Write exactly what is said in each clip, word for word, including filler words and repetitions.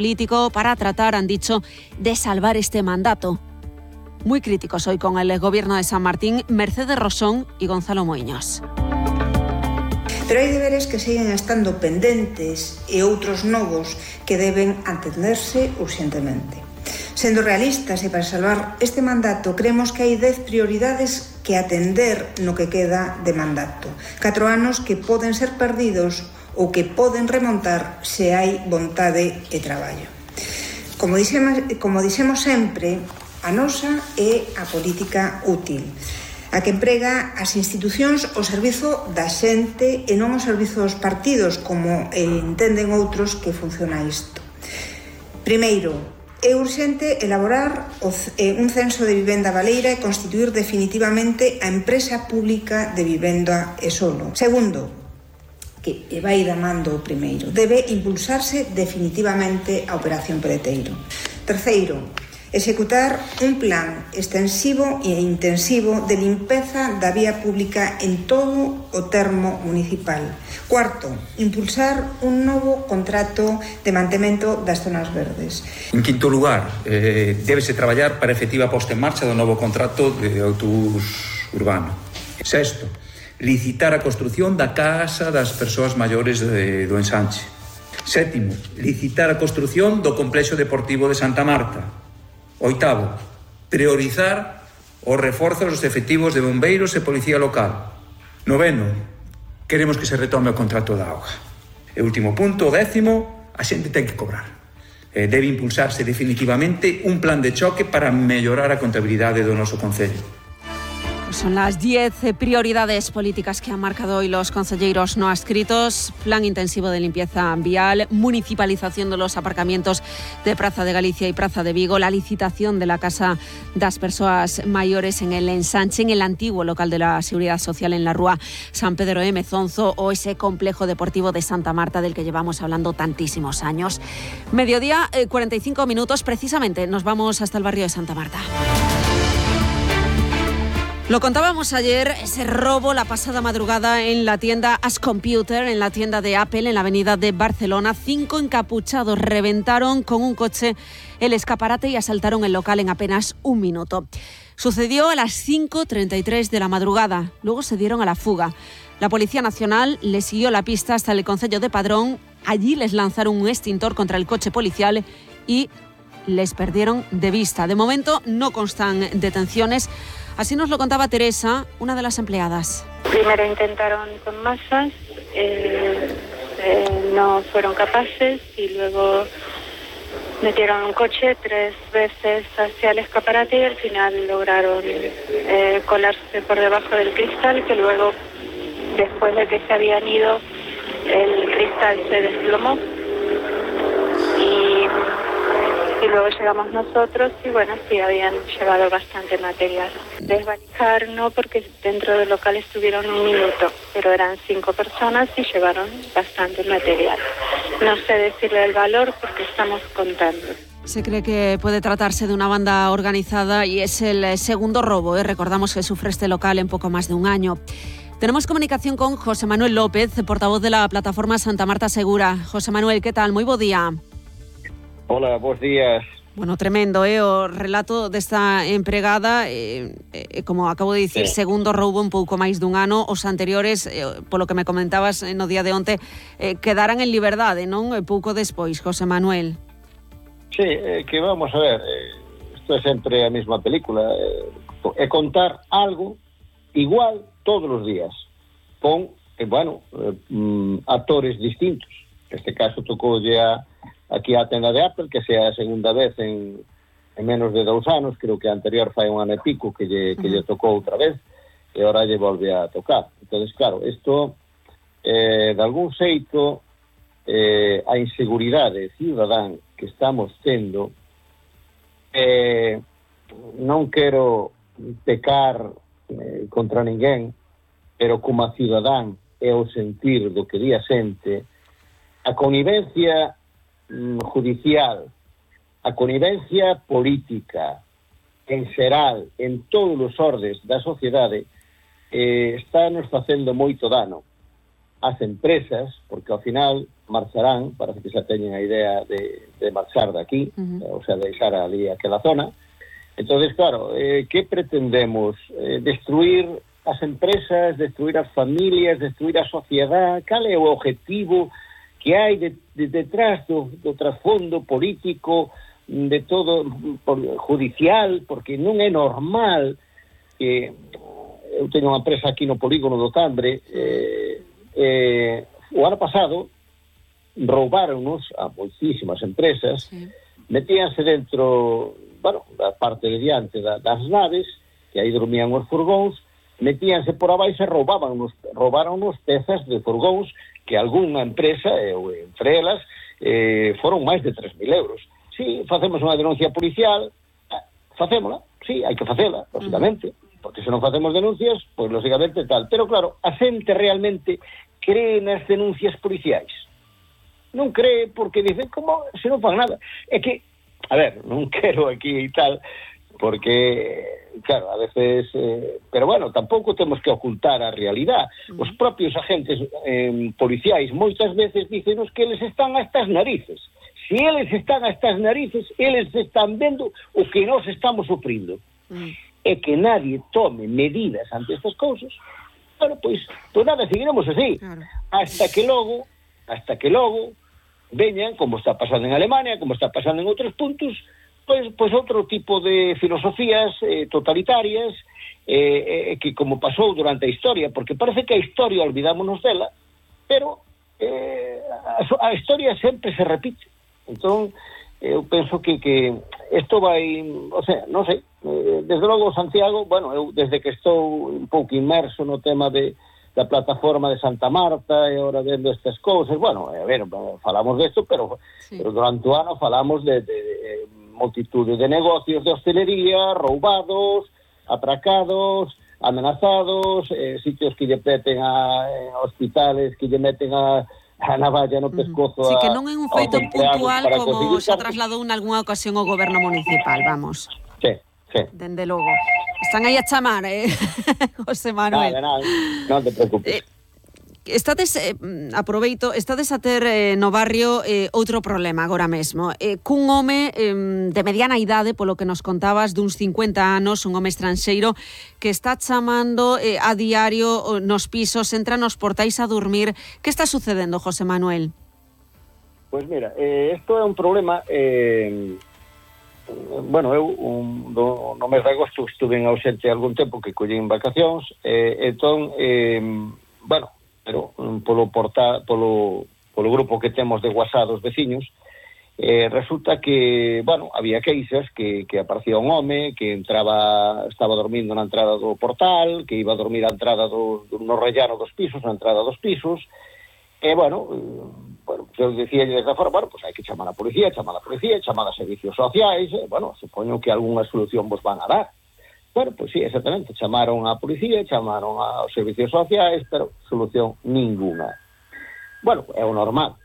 político para tratar, han dicho, de salvar este mandato. Muy críticos hoy con el gobierno de San Martín, Mercedes Rosón y Gonzalo Moiños. Pero hai deberes que seguen estando pendentes e outros novos que deben atenderse urxentemente. Sendo realistas e para salvar este mandato, creemos que hai dez prioridades que atender no que queda de mandato. Catro anos que poden ser perdidos ou que poden remontar se hai vontade e traballo. Como dixemos, como dixemos sempre, a nosa é a política útil, a que emprega as institucións ao servizo da xente e non ao servizo dos partidos, como entenden outros que funciona isto. Primeiro, é urxente elaborar un censo de vivenda baleira e constituir definitivamente a empresa pública de vivenda e solo. Segundo, que vai da man do primeiro, debe impulsarse definitivamente a Operación Peleteiro. Terceiro, executar un plan extensivo e intensivo de limpeza da vía pública en todo o termo municipal. Cuarto, impulsar un novo contrato de mantemento das zonas verdes. En quinto lugar, eh, débese traballar para a efectiva posta en marcha do novo contrato de autobús urbano. Sexto, licitar a construción da casa das persoas maiores de, do ensanche. Sétimo, licitar a construción do complexo deportivo de Santa Marta. Oitavo, priorizar os reforzos dos efectivos de bombeiros e policía local. Noveno, queremos que se retome o contrato da auga. E último punto, o décimo, a xente ten que cobrar. Eh, debe impulsarse definitivamente un plan de choque para mellorar a contabilidade do noso concello. Son las diez prioridades políticas que han marcado hoy los concelleiros no adscritos. Plan intensivo de limpieza vial, municipalización de los aparcamientos de Praza de Galicia y Praza de Vigo, la licitación de la Casa das Persoas Maiores en el ensanche, en el antiguo local de la Seguridad Social en la Rúa San Pedro de Mezonzo, o ese complejo deportivo de Santa Marta del que llevamos hablando tantísimos años. Mediodía, eh, cuarenta y cinco minutos, precisamente nos vamos hasta el barrio de Santa Marta. Lo contábamos ayer, ese robo la pasada madrugada en la tienda As Computer, en la tienda de Apple, en la avenida de Barcelona. Cinco encapuchados reventaron con un coche el escaparate y asaltaron el local en apenas un minuto. Sucedió a las cinco treinta y tres de la madrugada. Luego se dieron a la fuga. La Policía Nacional les siguió la pista hasta el concello de Padrón. Allí les lanzaron un extintor contra el coche policial y les perdieron de vista. De momento no constan detenciones. Así nos lo contaba Teresa, una de las empleadas. Primero intentaron con masas, eh, eh, no fueron capaces y luego metieron un coche tres veces hacia el escaparate y al final lograron eh, colarse por debajo del cristal, que luego, después de que se habían ido, el cristal se desplomó y... Y luego llegamos nosotros y bueno, sí, habían llevado bastante material. Desvalijar no, porque dentro del local estuvieron un minuto, pero eran cinco personas y llevaron bastante material. No sé decirle el valor porque estamos contando. Se cree que puede tratarse de una banda organizada y es el segundo robo, ¿eh? Recordamos que sufre este local en poco más de un año. Tenemos comunicación con José Manuel López, portavoz de la plataforma Santa Marta Segura. José Manuel, ¿qué tal? Moi bo día. Hola, bons días. Bueno, tremendo, eh, o relato desta empregada, eh, eh, como acabo de dicir, sí. Segundo roubo un pouco máis dun ano. Os anteriores, eh, polo que me comentabas no día de onte, eh, quedaran en liberdade, non? E pouco despois, José Manuel. Sí, eh, que vamos a ver, eh, isto é sempre a mesma película, eh, é contar algo igual todos os días, con, eh, bueno, eh, mm, actores distintos. Neste caso tocoulle a aquí a tenda de Apple, que sea a segunda vez en, en menos de dous anos, creo que a anterior fai un ano e pico que lle, que lle tocou outra vez, e ahora lle volve a tocar. Entonces, claro, isto, eh, de algún xeito, eh, a inseguridade cidadán que estamos tendo, eh, non quero pecar eh, contra ninguén, pero como a cidadán e o sentir do que di a xente, a connivencia judicial, a connivencia política en xeral, en todos os ordes da sociedade, eh, está nos facendo moito dano. as empresas, porque ao final marcharán, parece que xa teñen a idea de, de marchar de aquí, uh-huh. o sea, deixar ali aquela zona. Entonces, claro, eh, que pretendemos? Eh, destruir as empresas, destruir as familias, destruir a sociedade? Cal é o objetivo que hai de, de, detrás do, do trasfondo político, de todo, por, judicial? Porque non é normal que... Eu teño unha empresa aquí no polígono do Tambre, eh, eh, o ano pasado roubaronnos a moitísimas empresas, sí. metíanse dentro, bueno, da parte de diante da, das naves, que aí dormían os furgóns, metíanse por abaixo e roubaban roubaronnos pezas de furgóns que algunha empresa, eu entre elas, eh, foron máis de tres mil euros. Si, sí, facemos unha denuncia policial, facémola, si, sí, hai que facela, lógicamente, uh-huh. porque se non facemos denuncias, pois lógicamente tal. Pero claro, a xente realmente cree nas denuncias policiais. Non cree porque dicen, como se non fan nada? É que, a ver, non quero aquí e tal, porque, claro, a veces... Eh, pero bueno, tampouco temos que ocultar a realidade. Os propios agentes eh, policiais moitas veces dícenos que eles están a estas narices. Se eles están a estas narices, eles están vendo o que nós estamos sufrindo. Mm. É que nadie tome medidas ante estas cousas, bueno, pois, pois nada, seguiremos así, claro. hasta que logo, hasta que logo veñan, como está pasando en Alemania, como está pasando en outros puntos, pois, pois outro tipo de filosofías eh, totalitarias, eh, eh, que como pasou durante a historia, porque parece que a historia olvidámonos dela, pero eh, a, a historia sempre se repite. Entón, eu penso que, que isto vai, o sea, non sei, desde logo Santiago, bueno, eu desde que estou un pouco inmerso no tema de da plataforma de Santa Marta e ahora vendo estas cousas, bueno, a ver, falamos desto, pero, sí. pero durante o ano falamos de, de, de multitude de negocios de hostelería, roubados, atracados, amenazados, eh, sitios que lle meten a eh, hospitales, que lle meten a a navalla no pescozo. Sí, que non é un feito puntual como se trasladou en algunha ocasión o goberno municipal, vamos. Sí, sí. Dende logo. Están aí a chamar, eh, José Manuel. Nada, nada, non te preocupes. Eh, estades, eh, aproveito, estades a ter eh, no barrio eh, outro problema agora mesmo. Eh, cun home eh, de mediana idade, polo que nos contabas, duns cincuenta anos, un home estranxeiro, que está chamando eh, a diario nos pisos, entra nos portais a dormir. Que está sucedendo, José Manuel? Pois pues mira, eh, isto é un problema... Eh, bueno, eu un, do, no mes de agosto estuve en ausente algún tempo que collín vacacións, eh, entón, eh, bueno, pero polo, porta, polo, polo grupo que temos de WhatsApp dos veciños, eh, resulta que, bueno, había queixas que, que aparecía un home que entraba, estaba dormindo na entrada do portal, que iba a dormir a entrada do, no rellano dos pisos, na entrada dos pisos, e, bueno, bueno, eu dicía desde fora, bueno, pues hai que chamar a policía, chamar a policía, chamar a servicios sociais, e, bueno, supoño que algunha solución vos van a dar. Bueno, pois pues sí, exactamente, chamaron a policía, chamaron aos servicios sociais, pero solución ninguna. Bueno, é o normal.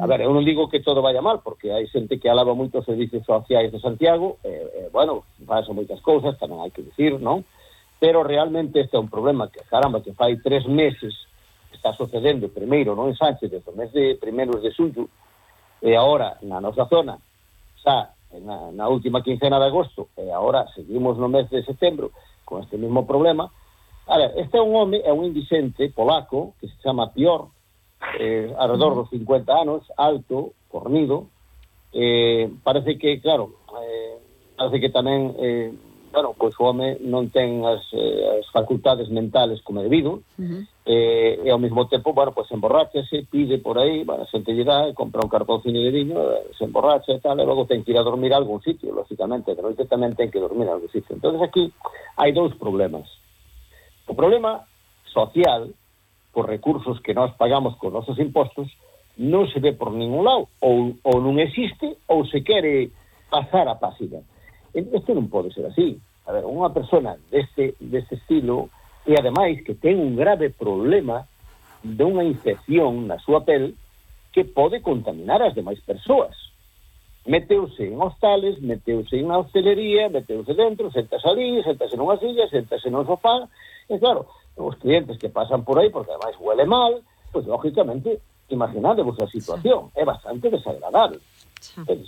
A ver, eu non digo que todo vaya mal, porque hai xente que alaba moito os servicios sociais de Santiago, e, e bueno, pasan moitas cousas, tamén hai que dicir, non? Pero realmente este é un problema que, caramba, que fai tres meses está sucedendo primeiro non en Sánchez desde o mes de primeiros de xullo e agora na nosa zona xa na, na última quincena de agosto e agora seguimos no mes de setembro con este mesmo problema. A ver, este é un home, é un indicente polaco que se chama Pior, eh, alrededor dos cincuenta anos, alto, fornido, eh, parece que, claro, eh, parece que tamén eh, bueno, pois o home non ten as, eh, as facultades mentales como debido, uh-huh. eh, e ao mesmo tempo, bueno, pois emborráchase, pide por aí, bueno, xente lle dá, compra un cartóncino de viño, se emborracha e tal, e logo ten que ir a dormir a algún sitio, lógicamente, de noite tamén ten que dormir a algún sitio. Entonces aquí hai dous problemas. O problema social, por recursos que nós pagamos con nosos impostos, non se ve por ningún lado, ou, ou non existe, ou se quere pasar a página. Isto non pode ser así. A ver, unha persona deste, deste estilo e ademais que ten un grave problema de unha infección na súa pel que pode contaminar as demais persoas. Meteuse en hostales, meteuse en hostelería, meteuse dentro, sentase ali, sentase nunha silla, sentase nun sofá, e claro, os clientes que pasan por aí, porque ademais huele mal, pois, lógicamente, imaginadevos a situación, é bastante desagradable. Sí. Entonces,